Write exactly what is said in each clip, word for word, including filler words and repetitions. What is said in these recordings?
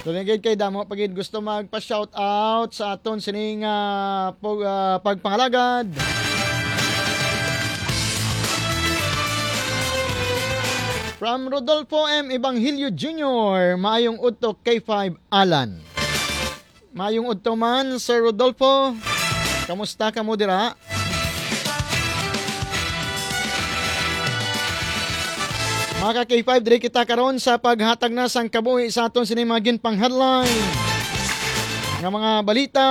Tunigid kay damo pa gid gusto magpa-shout out sa aton sining, ah, pag-, ah, pagpangalagad. From Rodolfo M Evangelio Junior, maayong udto K five Alan. Maayong udto man, Sir Rodolfo. Kamusta kamo dira? Mga ka K five, diri kita karon sa paghatag na sang kabuhi sa aton sini mga ginpang-headline nga mga balita.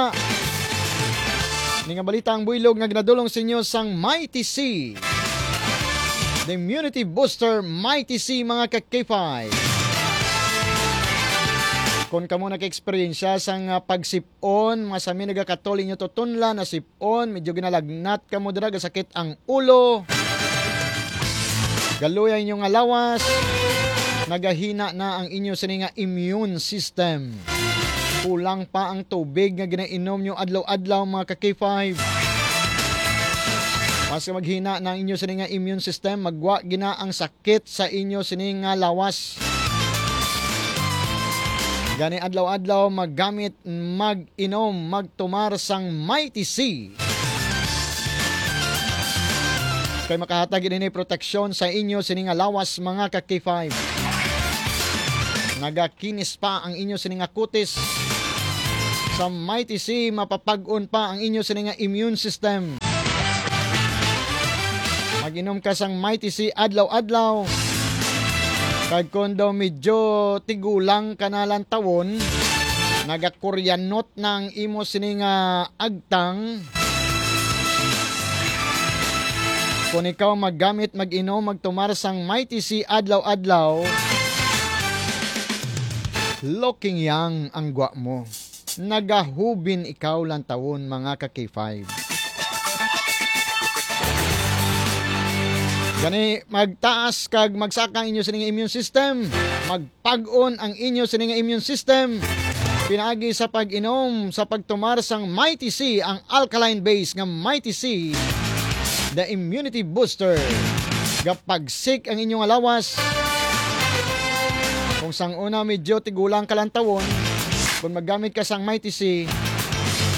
Ni nga balita ang buylog nga ginadulong sa inyo sang Mighty C, the immunity booster Mighty C, mga ka K five. Kung kamo naka-eksperyensya sang, ah, pagsip-on, masami nagakatol inyo tutunlan, nasip-on, medyo ginalagnat kamo dira, gasakit ang ulo, galuya inyo nga lawas, nagahina na ang inyo sini nga immune system. Kulang pa ang tubig nga ginainom nyo adlaw-adlaw, mga ka K five. Mas maghina na ang inyo sini nga immune system, magwa gina ang sakit sa inyo sini nga lawas. Gani adlaw-adlaw maggamit, mag-inom, magtumar sang Mighty C. Kay makahatag ini proteksyon sa inyo sini nga lawas, mga ka K five. Nagakinis pa ang inyo sini nga kutis. Sa Mighty C, mapapag-on pa ang inyo sini nga immune system. Mag-inom ka sang Mighty C adlaw-adlaw. Kag kung daw medyo tigulang ka na lantawon, nagakuryanot na ang imo sini nga agtang. Kung ikaw maggamit, mag-inom, magtumar sang Mighty C adlaw-adlaw, looking young ang gwa mo. Nagahubin ikaw lantawon, mga ka K five. Gani, magtaas kag magsaka ang inyo sining immune system. Magpag-on ang inyo sining immune system. Pinaagi sa pag-inom, sa pagtumar sang Mighty C, ang alkaline base nga Mighty C, the immunity booster. Gapagsik ang inyo nga lawas. Kung sang una medyo tigulang ka lantawon, kung maggamit ka sang Mighty C,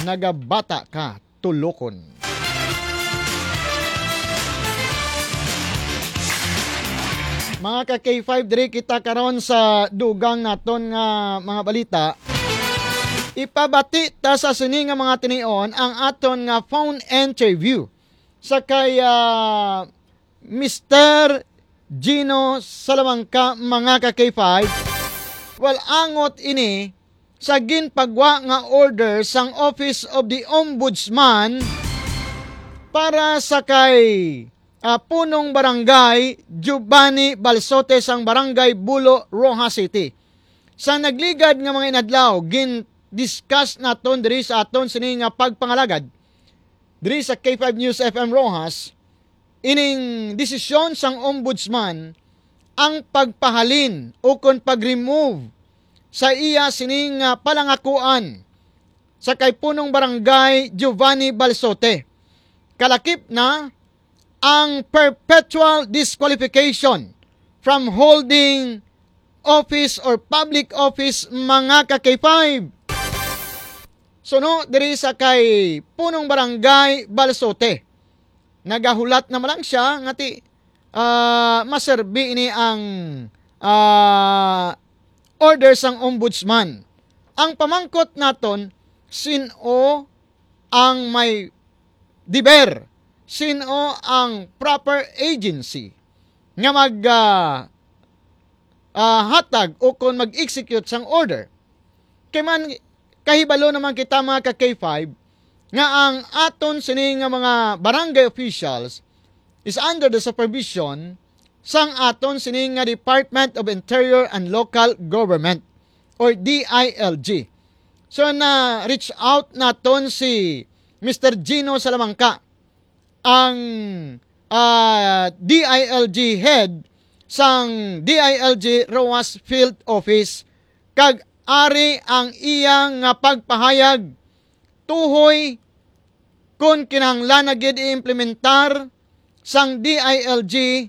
nagabata ka tulokon. Mga ka K five, diri kita karon sa dugang naton nga mga balita. Ipabati ta sa sini nga mga tinion ang aton nga phone interview sa kay, ah, Mister Gino Salamanca, mga ka K five. Well, angot ini sa ginpagwa nga order sang Office of the Ombudsman para sa kay, ah, Punong Barangay Giovanni Balsote sang Barangay Bulo, Roxas City. Sa nagligad nga mga inadlaw, gin-discuss naton diri sa aton sini nga pagpangalagad diri sa K five News F M Roxas, ining desisyon sang Ombudsman ang pagpahalin ukon pag-remove sa iya sining, ah, palangakuan sa kay Punong Barangay Giovanni Balsote. Kalakip na ang perpetual disqualification from holding office or public office, mga ka K five. Suno diri sa kay Punong Barangay Balsote, nagahulat na man lang siya nga ti, ah, maserbi ini ang, ah, order sang Ombudsman. Ang pamangkot naton, sin-o ang may deber, sin-o ang proper agency nga mag, ah, ah, hatag o kon mag-execute sang order. Kay man, kahibalo naman kita, mga ka K five, nga ang aton sini nga mga barangay officials is under the supervision sang aton sini nga Department of Interior and Local Government or D I L G. So, na-reach out naton si Mister Gino Salamanca, ang, ah, D I L G head sang D I L G Roxas Field Office, kag ari ang iya nga pagpahayag tuhoy kon kinahanglan na gid i-implementar sang D I L G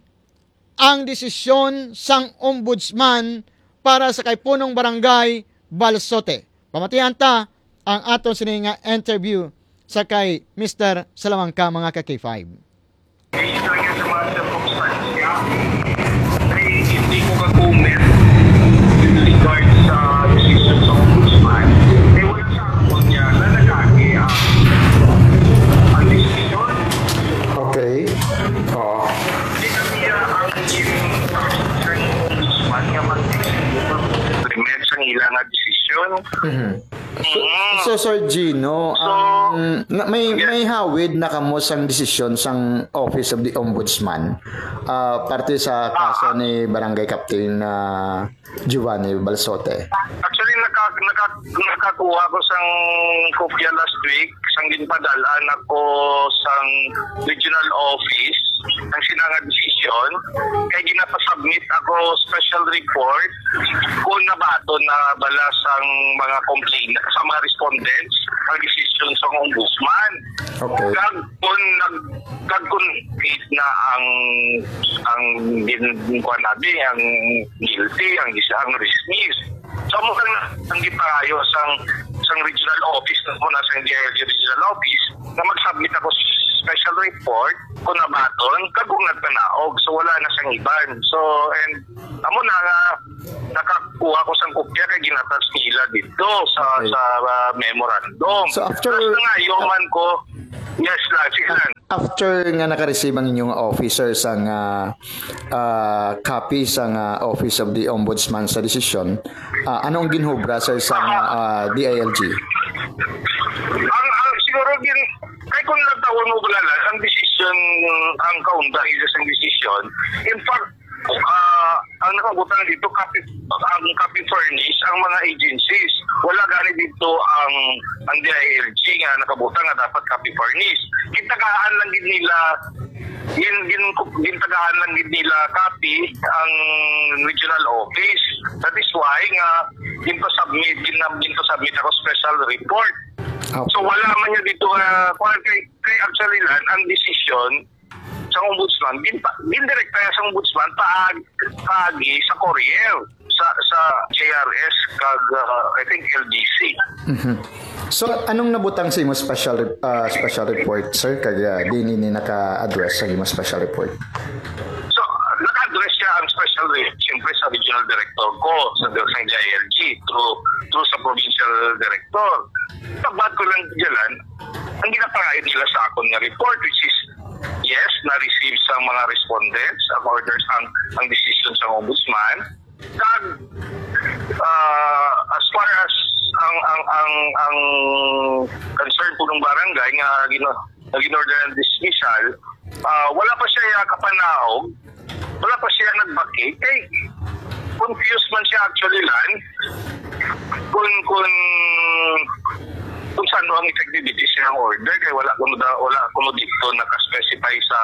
ang desisyon sang Ombudsman para sa kay Punong Barangay Balsote. Pamatian ta ang aton sini nga interview sa kay Mister Salamanca, mga ka K five. Based lang yan sa mga circumstansya. Ay, hindi ko ka-comment with regards sa decision sa ombudsman. Eh, wala sa akon niya na nagagi ang, ang decision. Okay. Oo. Hindi kami, ah, ang ombudsman nga mag-implement sa ila nga decision. Mhm. So, Mm. so, Sir Gino, So, ang, na, may, yes. may hawid na kamo sang desisyon sang Office of the Ombudsman, ah, parte sa kaso Ah. ni Barangay Captain, ah, Giovanni Balsote? Actually, naka-, naka-, nakakuha ko sang kopya last week, sang ginpadal-an ako sang regional office, ang sina nga desisyon, kay ginapasubmit ako special report kung nabaton na bala sang mga complainant, sa mga respondents, ang desisyon sa ombudsman. Okay. Kag kung nag-, kag kung na ang, ang gin-, kuwan natin, ang guilty, ang dis-, ang dismiss. So, mo lang ang gipangayo sang, sang regional office, na mo na sang D I L G regional office, na mag-submit ako special report kung nabaton, kag kung nagpanaog. So, wala na sang iban. So, and amo na nga, nakakuha ko sang kopya kay ginatas nila dito sa, Okay. sa, ah, memorandum. So, after Tapos na nga, yung man ko, yes lang, sige lang. After nga nakareceive ang inyong officer sang, ah, ah, copy sang, ah, Office of the Ombudsman sa desisyon, ah, ano ang ginhubra, sir, sa, ah, D I L G? Ang, ang siguro gin-, kay kung nagtawon mo bulala, ang decision, ang kaunda is ang decision. In fact, ah, ang nakabutang dito, copy, ang copy furnish, ang mga agencies. Wala gani dito ang, ang D I L G nga nakabutang nga dapat copy furnish. Gitagaan lang gid nila, gin, gin, gintagaan lang gid nila copy ang regional office. That is why nga ginpa-submit, gin-, ginpa-submit ako special report. Okay. So, wala man niya dito nga, kuwan, kay, kay actually lang, ang decision sa ombudsman, gin-, gindirekta niya sa ombudsman, paag-, paagi sa Courier, sa, sa J R S, kag, ah, I think, L D C. Mhm. So, anong nabutang sa imo special re-, ah, special report, sir? Kag, ah, di ni, ni naka-address sa imo special report? So, naka-address siya ang special re-, siyempre sa regional director ko, sa, sa J I L G, through, through sa provincial director. Pagbat ko lang dyan, ang ginapangayo nila sa akon nga report, which is, yes, na-receive sa mga respondents ang orders, ang, ang decision sa ombudsman. Kag, ah, as far as ang, ang, ang, ang concern po ng barangay nga gino-, nga ginorder ng dismissal, ah, wala pa siya kapanaog, wala pa siya nagbakit. Kay, confused man siya actually, Lan, kung, kung, kung saan ang effectivity sa iyang order. Kay wala kuno da-, wala kuno dito naka-specify sa,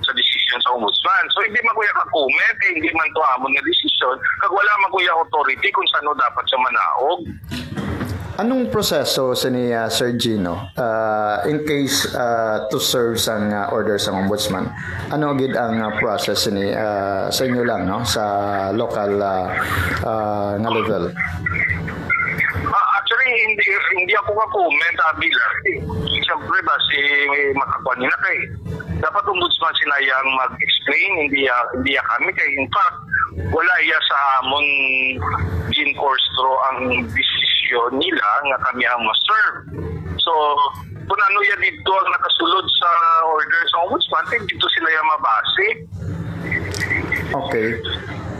sa decision sa ombudsman. So, hindi man ko iya ka-comment, eh, hindi man to amon nga decision. Kag wala man ko iya authority kung saan dapat siya manaog. Anong proseso sini, ah, Sir Gino, ah, in case, ah, to serve sang, ah, order sang ombudsman? Ano gid ang, ah, process sini, ah, sa inyo lang, no, sa local, ah, ah, nga level? Ah, actually, hindi, hindi ako ka-comment, abi lang. Siyempre ba, si makakuan nila kay dapat ombudsman sila yang mag-explain, hindi ya, hindi ya kami kay, in fact, wala iya sa amon gin-course through ang desisyon nila nga kami ang ma-serve. So, kung ano ya dito ang nakasulod sa order sa ombudsman, kay dito sila ya mabase. Okay.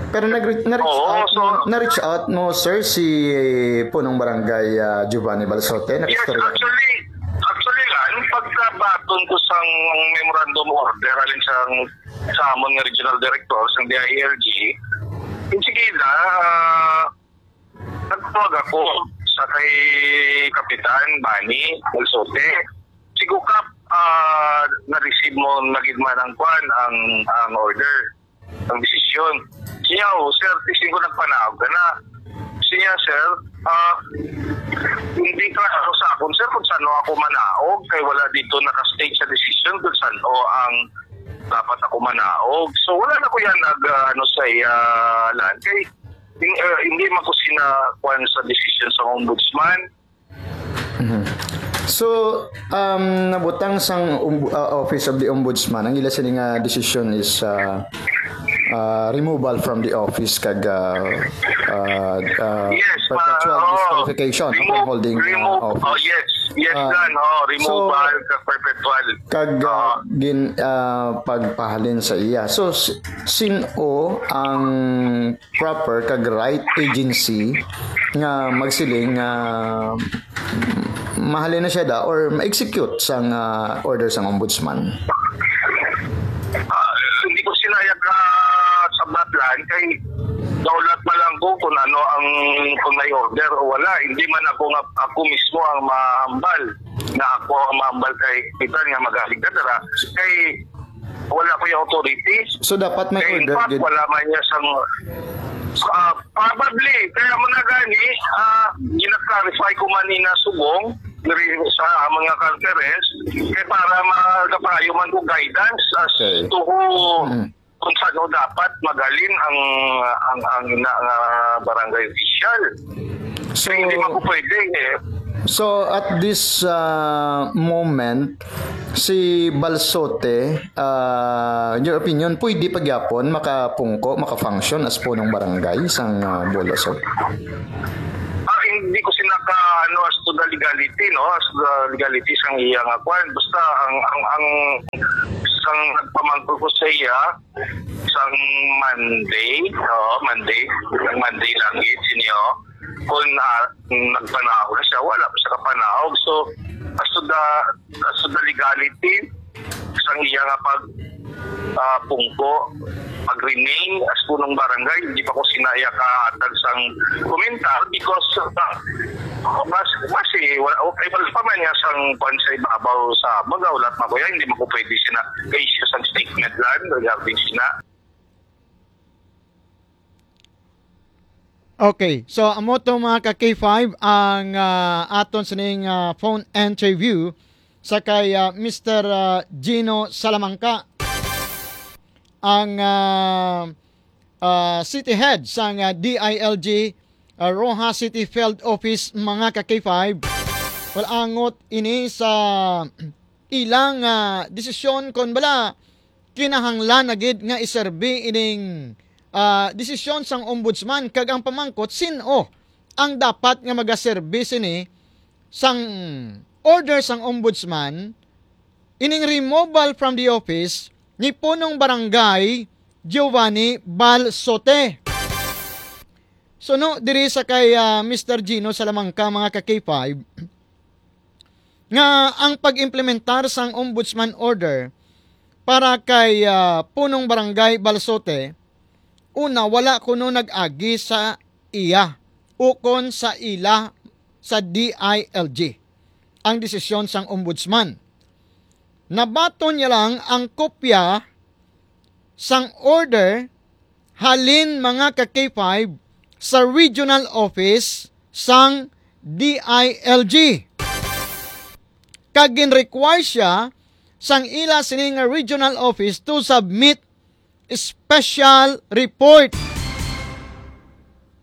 Pero nag-re-, na-reach Oo, out so mo, na-reach out mo, sir, si punong barangay, ah, Giovanni Balsote? Yes, Nakistorya? Actually, actually lang, pagkabaton ko sang memorandum order, alin sang, sa amon nga regional director, sang D I L G, yung sige na, ah, nagtawag ako sa kay Kapitan Bani Balsote. Sigo, Kap, ah, na-receive mo na gid man ang kwan, ang, ang order, ang desisyon. Siya, "Oh, sir, tising ko nagpanaog ka na." Siya, "Sir, ah, hindi klaro sa akon, sir, kung saan ako manaog, kay wala dito naka-state sa desisyon kung saan ang dapat ako manaog." So, wala na ko yan nag, ah, ano, sa iya, lan. Kay, Hin-, uh, hindi man ko sina kuan sa decision sa ombudsman. Mhm. So, um, nabutang sang ombu- uh, Office of the Ombudsman, ang ila sini nga decision is uh, uh, removal from the office kag uh, uh, uh, Yes, pa- perpetual oh, disqualification from remove- holding uh, remove- office. Oh, yes. Yes, Ah, lan. Oh, removal so- kag perpetual. Kag Ah. uh, gin uh, pagpahalin sa iya. So s- sin-o ang proper kag right agency nga magsiling nga mahalin na siya da or ma-execute sang uh, order sang ombudsman? Ah, hindi ko sinaya ka sa Batlan kay daulat pa lang ko kung ano ang kung may order o wala. Hindi man ako nga ako mismo ang mahambal na ako ang mahambal kay kita nga magaling ka dara kay wala ko yung authority. So dapat may Kay in order fact, gid. Wala man niya sang ah, probably kaya mo na gani ah gina-clarify ko man ni na subong diri sa mga conference kay para magapayo man ko guidance as Okay. to who Mm. kung saan dapat magalin ang ang ang ina nga barangay official. So, Kaya hindi man ko pwede eh. so at this uh, moment, si Balsote, uh, in your opinion, pwede pa gyapon makapungko, maka-function as punong barangay sang uh, Bohol Usog? Ah, hindi ko sila ka ano as to the legality, no, as to the legality sang iya nga kwan. Basta ang ang ang sang nagpamangkot ko sa iya sang Monday, oh, Monday, ang Monday lang gid sinyo. Kung uh, nagpanaog na siya, wala pa siya kapanaog. So as to the as to the legality sang iya nga pag ah, pungko, pag-remain as punong barangay, hindi pa ko sinaya kahatag sang komentar because uh, mas mas eh, wala okay wala pa man niya sang kwan sa ibabaw sa baga wala pa ko yan, hindi mo ko pwede sina issue sang statement lang regarding sina. Okay. So, amo to, mga ka K five, ang ah, aton sining ah, phone interview sa kay ah, Mister ah, Gino Salamanca, ang ah, ah, city head sang ah, D I L G ah, Roxas City Field Office, mga ka K five. Wala angot ini sa ilang ah, desisyon kon bala kinahanglan na gid nga iserbi ining ah, desisyon sang ombudsman, kag ang pamangkot, sin-o ang dapat nga magaserbi sini sang order sang ombudsman, ining removal from the office ni punong barangay Giovanni Balsote? Suno diri sa kay ah, Mister Gino Salamanca, mga ka K five, nga ang pag-implementar sang ombudsman order para kay ah, punong barangay Balsote, una, wala kuno nag-agi sa iya ukon sa ila sa D I L G ang desisyon sang ombudsman. Nabaton niya lang ang kopya sang order halin, mga ka K five, sa regional office sang D I L G. Kag gin-require siya sang ila sini nga regional office to submit special report.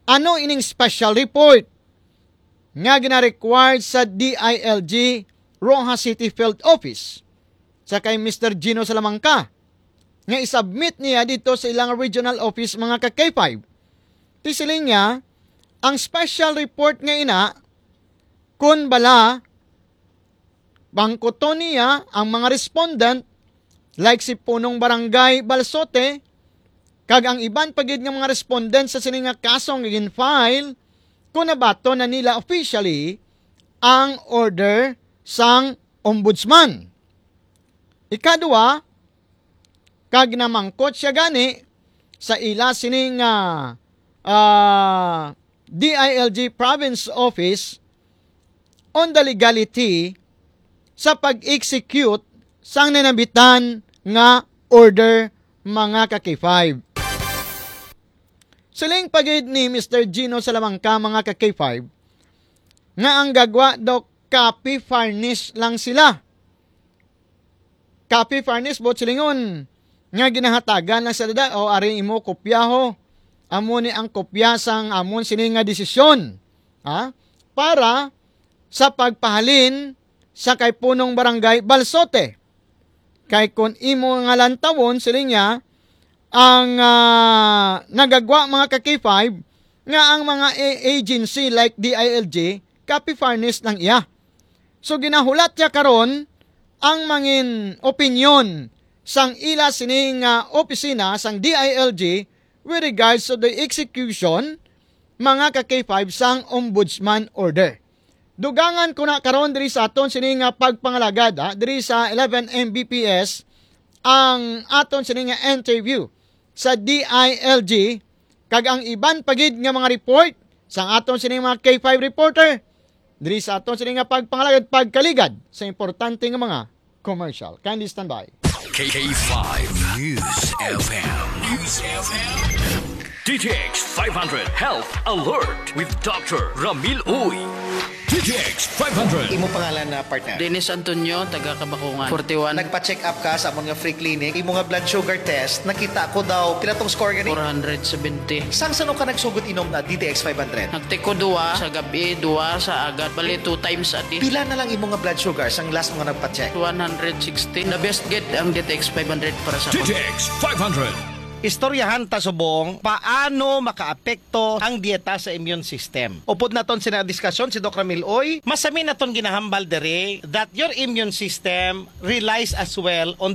Ano ining special report nga gina-required sa D I L G Roxas City Field Office sa kay Mister Gino Salamanca nga isubmit niya dito sa ilang regional office, mga ka K five? Tisiling niya, ang special report nga ina, kun bala, bangkuton niya ang mga respondent, like si Punong Barangay Balsote, kag ang iban pa gid nga mga respondent sa sini nga kaso nga gin-file, kung nabaton na nila officially ang order sang ombudsman. Ikadua, kag namangkot siya gani sa ila sini nga ah, D I L G Province Office on the legality sa pag-execute sang nanabitan nga order, mga ka K five. Siling pa gid ni Mister Gino Salamanca, mga ka K five, nga ang gagwa daw copy furnish lang sila. Copy furnish, buot silingon nga ginahatagan lang sa dada, "O, ari imo kopyaho, Amo ni ang kopya sang amon sini nga desisyon, ha? Para sa pagpahalin sa kay Punong Barangay Balsote. Kay kun imo nga lantawon, siling niya, ang, ah, nagagwa, mga ka-K five, nga ang mga a-, agency like D I L G, copy furnished lang iya. So, ginahulat niya karon ang mangin opinyon sang ila sini nga opisina sang D I L G with regards to the execution, mga ka-K five, sang Ombudsman Order. Dugangan ko na karon diri sa aton sini nga pagpangalagad, ha, diri sa eleven M B P S ang aton sini nga interview sa D I L G, kag ang iban pa gid nga mga report sang aton sini mga K five reporter diri sa aton sini nga pagpangalagad, pagkaligad sa importante nga mga commercial. Kindly stand by. K five News F M. News F M. D T X five hundred Health Alert with Doctor Ramil Uy. D T X five hundred. Imo pangalan na partner? Dennis Antonio, taga Kabakungan, forty-one. Nagpa-check up ka sa amon nga free clinic. Imo nga blood sugar test, nakita ko daw, pila tong score gani? Four hundred seventy. Sang sano ka nagsugot inom na D T X five hundred? Nagtiko duwa sa gabi, duwa sa agad. Bali, two times a day. Pila na lang imo nga blood sugar sang last mo nga nagpa-check? One hundred sixty. The best gid ang D T X five hundred para sa D T X five hundred. Istoryahan ta subong paano makaapekto ang dieta sa immune system. Upod naton sina diskasyon si Doc Ramil Uy, masami naton ginahambal diri that your immune system relies as well on the